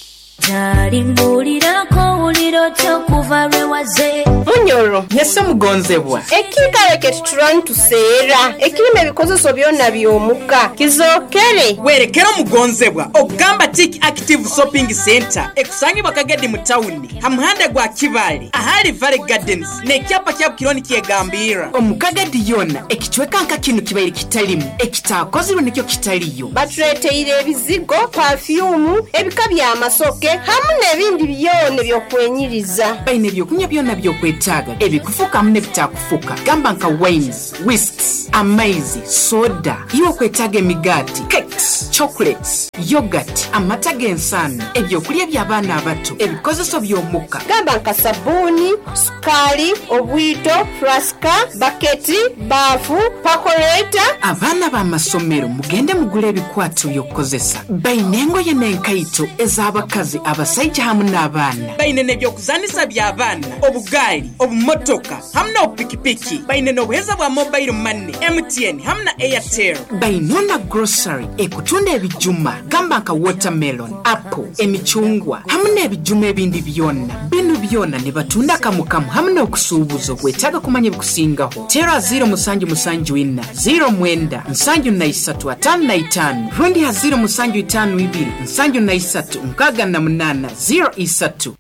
Gyali mbuuliraku owulira otya okuva lwe waze. Munyoro. Yesu omugonzebwa. Ekiikaro kye tutura nituseera, ekirimu ebikozeso byona by'omuka, kizookere. Werekere omugonzebwa okugamba Tick Active Shopping Centre ekusangibwa Kagadi mu tawuni ha muhanda gwa Kibaale ahali Valley Gardens n'ekyapa kya Bukironi kyegambirra. Omu Kagadi yoona ekicweka nka kinu kibaire kitalimu ekitaakozirwe nikyo kitaliyo. Batuleeteire ebizigo, pafyumu, ebika by'amasoke hamu n'ebindi byona eby'okwenyiriza. Baine ebyokunywa byona by'okwetaaga ebikufuka hamu n'ebitakufuka gamba nka wines, whisks, amaizi, soda, iwe okwetaaga emigaati, cakes, chocolates, yoghurt, amata g'ensaano, ebyokulya eby'abaana abato, ebikozeso by'omuka. Gamba nka sabuuni, sukaali, obwito, furasika, baketi, baafu, pakoreeta. Abaana b'amasomero mugende mugule ebikwato by'okukozesa. Baine engoye n'enkaito ez'abakazi, abasaija hamu n'abaana. Baine n'eby'okuzanisa by'abaana, obugaali, obumotoka hamu n'obupikipiki. Baine n'obuheereza bwa mobile money, MTN hamu na Airtel. Baine na grocery ekutunda ebijuma gamba nka watermelon, apple, emicungwa hamu n'ebijuma ebindi byona. Binu byona nibatunda kamu kamu hamu n'okusuubuza. Okwetaaga kumanya ebikusingaho, teera 0774 09 73 55 rundi ha 0752 73 68 03.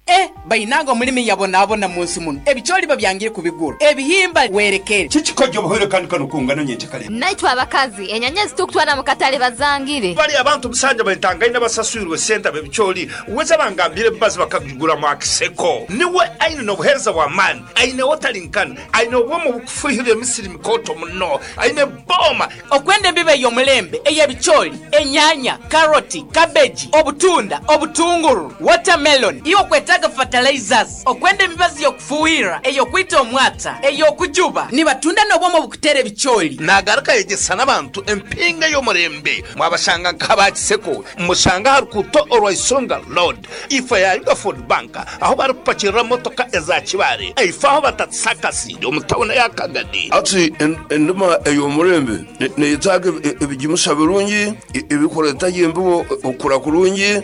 E Bainange omulimi yabonaabona mu nsi muno, ebicooli babyangire kubigura, ebihimba werekere. Kiki koja obuhoire kandi kanu kungano nyenkya kare? Naitwe abakazi, enyanya ezitukutwara mu katale bazangire. Bali abantu musanja baintangaine abasaswirwe esente ab'ebicooli, weza bangambire ebibazi bakagigura mu Akiseko. Niwe aine n'obuheereza bw'amaani, aine wotalinkana, aine obwoma obukufuhirira emisiri mikooto muno, aine bbooma. Okwenda embibo ey'omulembe ey'ebicooli, enyaanya, karoti, kabeji, obutunda, obutunguru, watermelon, iwe okwetaaga. Niwetaaga fertilizers, okwenda emibazi y'okufuuhirira, ey'okwita omwata, ey'okujuba. Nibatunda n'obwoma obukuteera ebicoori. Naagaruka ayegyesa n'abantu empinga ey'omurembe. Mwabashanga nk'aba Kiseko, mushanga aha rukuuto orwa Isonga Road, ifo ya Ugaford Bank, ahu barikupakirira motoka eza Kibaale, ifo ahu batatisa akasinde omu tauni ya Kagadi. Hati endima ey'omurembe neyetaaga ebigimusa birungi, ebirikureeta gye embibo okukura kurungi,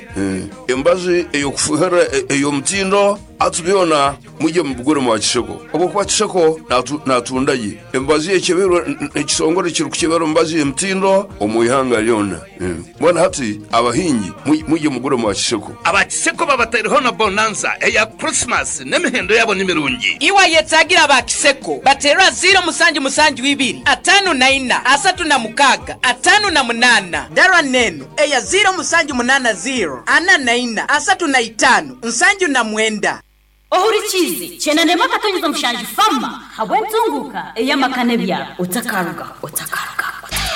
emibazi ey'okufuuhirira ey'omutindo. Hati byona mwije mubigure mwa Kiseko ahabw'okuba Kiseko naatunda gye emibazi ekyebeirwe ekitongore ekirikukyebera emibazi y'emitindo omu ihanga ryona. Mbwenu hati abahingi mwije mugure mwa Kiseko. Aba Kiseko babataireho na bonanza eya Christmas n'emihendo yaabo ni mirungi. Iwe ayetaagira aba Kiseko bateerwa ziiro musanju musanju ibiri 54 36 58. Dara n'eno eya ziiro musanju munaana ziiro 44 35 79. Ohurikiize, Kyenda n'emwe akatonyeza mushanju Fama habw'entunguuka ey'amaka n'ebyaro. Otakarugaho, otakarugaho, otakarugaho.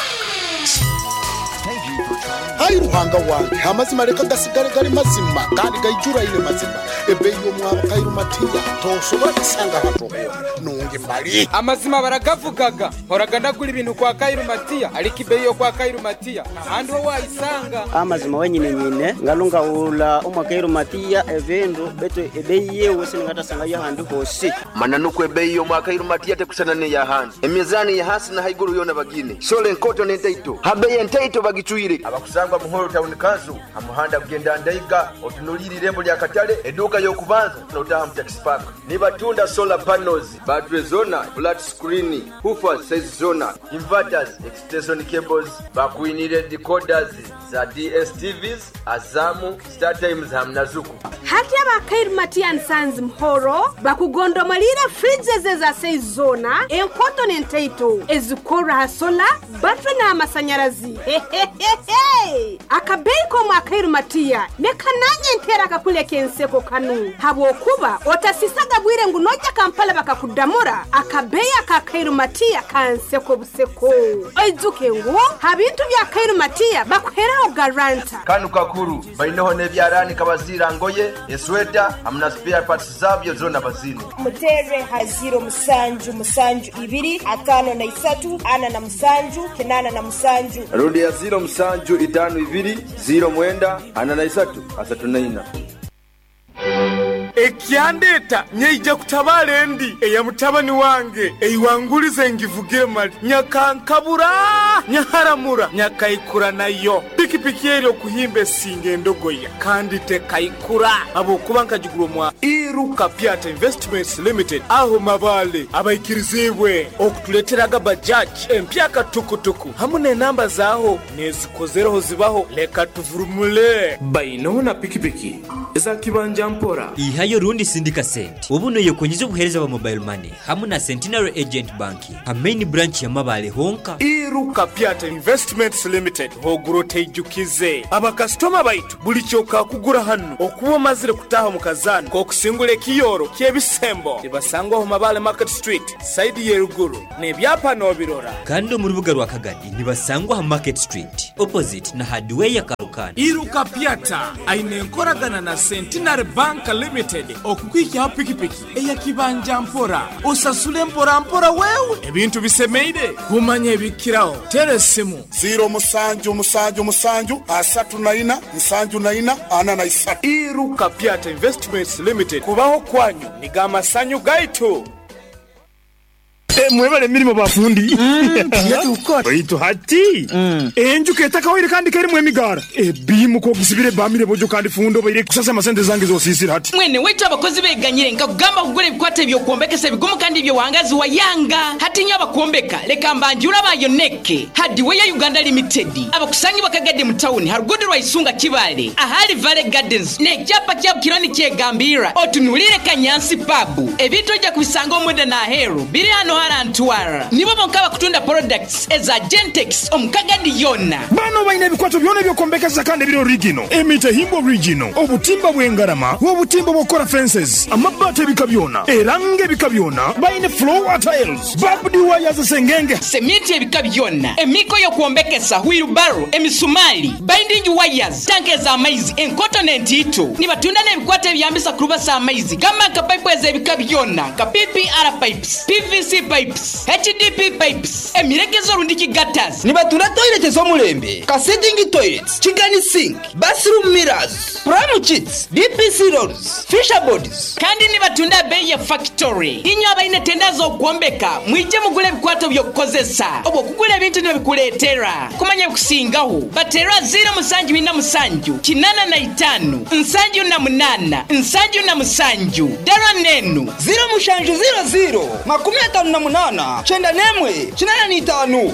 Ai Ruhanga wange, amazima leka gasigale gali mazima kandi gaijuraine mazima. Ebeeyi y'omwabo Kairu Matiya tosobora kusanga hantu hoona. Nungi mali. Amazima baragavugaga, mporaga ndagura ibintu kwa Kairu Matiya ariko ibeeyi yo kwa Kairu Matiya ntahandi ho wayisanga. Amazima wenyine nyine ngalungahula omwa Kairu Matiya ebindu betu ebeeyi yewe siningatasanga ahandi hosi. Mananu ebeeyi y'omwa Kairu Matiya tekusana n'eyahandi. Emizani ya hasi na haiguru yoona bagine. Sole enkoto n'entaito. Habeeyi entaito bagicwire. Abakusangwa Muhoro Town Council ha muhanda kugenda Ndaiga otunuliire irembo lya Katale eduuka y'okubanza n'otaaha mu taxi park. Nibatunda solar panels, battery zona, flat screen, woofers size zona, inverters, extension cables, bakwinire decoders za DSTVs, Azam, Star Times hamu na Zuku. Hati aba Kairu Matiya and Sons Muhoro bakugondomolire fridges eza size zona, enkoto n'entaito ezikora ha sola, battery n'amasanyarazi. Hehehehe! Akabeeyi k'omwa Kairu Matiya nekananye ntera akakuleka enseko kanu habwokuba otasisaga bwire ngu nojja Kampala bakakudamura. Akabeeyi aka Kairu Matiya kanseko buseko. Oijuke ngu ha bintu bya Kairu Matiya bakuheraho garanta. Kanu kakuru baineho n'ebyaraani kabaziira ngoye, esweta hamu na spare parts zabyo zona bazine. Mutere ha ziro musanju musanju ibiri 53 47 87. Rundi ya ziro musanju itano ibiri ziro mwenda 43 34. Ekyandeta nyeija kutabala endi eya mutabani wange eiwangulize ngivugire mali nyakankabura nyaharamura nyakaikura nayo pikipiki eri okuhimba esinga endogoya kandi tekaikura habwokuba nkagigura omwa Iruka Piata Investments Limited aho mabale abaikirizibwe okutuleteraga bajaji empyaka tukutuku hamu n'enamba zaaho nezikozereho zibaho leka tuvurumule bainoho na pikipiki eza kibanja mpora. Ihayo rundi sindika sente obu noyekonyiza obuheereza bwa mobile money hamu na Centenary Agent Banking ha main branch ya Mabale honka. Iruka Piata Investments Limited hogura oteijukize abakasitoma baitu buli kyokakugura hanu okuba omazire kutaha mu kazaano k'okusingura ekiyoro ky'ebisembo nibasangwaho Mabale Market Street saidi y'eruguru n'ebyapa n'obirora. Kandi omu rubuga rwa Kagadi nibasangwa ha Market Street opposite na hardware ya Karukanda. Iruka Piata aine enkoragana na Centenary Bank Limited okukwikyaho pikipiki eya kibanja mpora osasule mpora mpora wewe ebintu bisemeire kumanya ebikiraho tera esimu ziro musanju musanju musanju 34 74 43. Iruka Piata Investments Limited kubaho kwanyu nigo amasanyu gaitu. Mwebale emirimo bafundi. Baitu hati enju ketakawaire kandi kerimu emigara ebimu kogisibire bamire bojo kandi fundo baire kusasa amasente zange zosisira hati. Mwene waitu abakozi beganyire nkakugamba kugura ebikwata eby'okwombekesa ebigumu kandi ebyowangazi wayanga. Hati nyo abakwombeka leka mbanjura bayoneke Hardware Uganda Limited abakusangibwa Kagadi mu tawuni harugudo rwa Isunga Kibale ahali Valley Gardens n'ekyapa kyabo kiro nikyegambira otunulire Kanyansi pub ebintu ojja kubisanga omunda n'aheeru biri hano. Tamara Ntwara nibo bonka abakutunda products eza Gentex omu Kagadi yoona. Bano baine ebikwato byona eby'okwombekesa kandi ebiri origino, emitahimbwa origino, obutimba bw'engarama, obutimba obw'okukora fences, amabaati ebika byona era nga ebika byona. Baine floor tiles, barbed wires, sengenge. Seminti ebika byona, emiiko y'okwombekesa, wheelbarrow, emisumaali, binding wires, tanka ez'amaizi, enkoto n'entiito. Nibatunda n'ebikwato ebiyambisa kurubasa amaizi gamba nka paipu ez'ebika byona nka PPR pipes, PVC pipes, HDP pipes, emiregezo rundiki gutters. Nibatunda toilet ez'omulembe nka sitting toilets, chicken sink, bathroom mirrors, pram kits, DPC rolls, fisher boards. Kandi nibatunda abeeyi ya factory. Inywe abaine tenda z'okwombeka mwije mugule ebikwato by'okukozesa. Obw'okugura ebintu nibabikureetera. Kumanya ebikusingaho, bateere aha ziiro musanju ina musanju, 85, 78, 77. Dara n'enu. Ziiro mushanju ziiro ziiro, 58, 91, 85.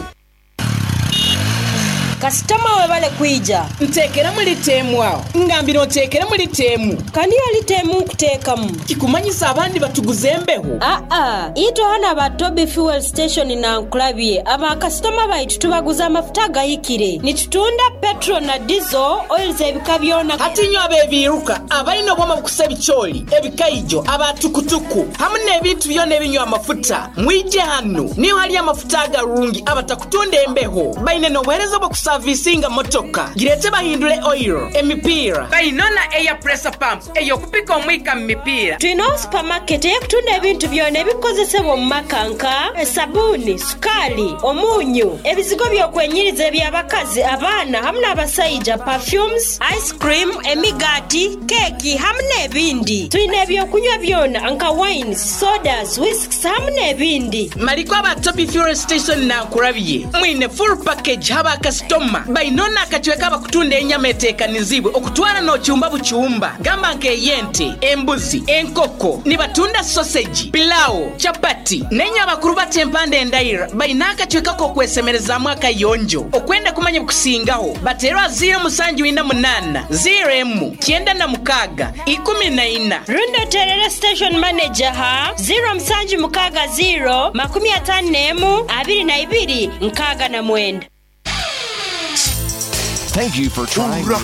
Kasitoma webale kwija. Nteekeramu lita emu agho. Ngambira onteekeremu lita emu. Ka niyo lita emu nkuteekamu. Kikumanyisa abandi batuguza embeho? Aa, itwe ghano aba Toby Fuel Station Nankulabye, aba kasitoma baitu tubaguza amafuta agahikire. Nitutunda petrol na diesel, oils ebika byona. Hati inywe ab'ebiiruka, abaine obwoma obukusa ebicooli, ebikaijo, aba tukutuku, hamu n'ebintu byona ebinywa amafuta, mwije hanu. Niho hali amafuta agarungi abatakutunda embeho. Baine n'obuheereza obw'okusaviisinga motoka. Gireete bahindule oil, emipiira. Baine na air pressure pump ey'okupika omwika mu mipiira. Twine supamaketi ey'okutunda ebintu byona ebikukozesebwa omu maka nka, esabuuni, sukaali, omunyu, ebizigo by'okwenyiriza eby'abakazi, abaana hamu n'abasaija, perfumes, ice cream, emigaati, keeki hamu n'ebindi. Twine eby'okunywa byona nka wines, sodas, whisks hamu n'ebindi. Maliko aba Toby Fuel Station Nankurabye mwine full package ha ba kasitoma baine ono akacweka abakutunda enyama etekanizibwe okutwara nocyumba bucyumba gamba nka ey'ente, embuzi, enkoko, nibatunda sausage, pilau, chapati nenye abakuru bata empanda endaira baine akacweka k'okwesemerezaamu akayonjo. Okwenda kumanya ebikusingaho bateere aha ziiro musanju ina munaana, ziiro emu, 96, 14. Rundi oteerere station manager ha 0760 51 22 69. Thank you for trying.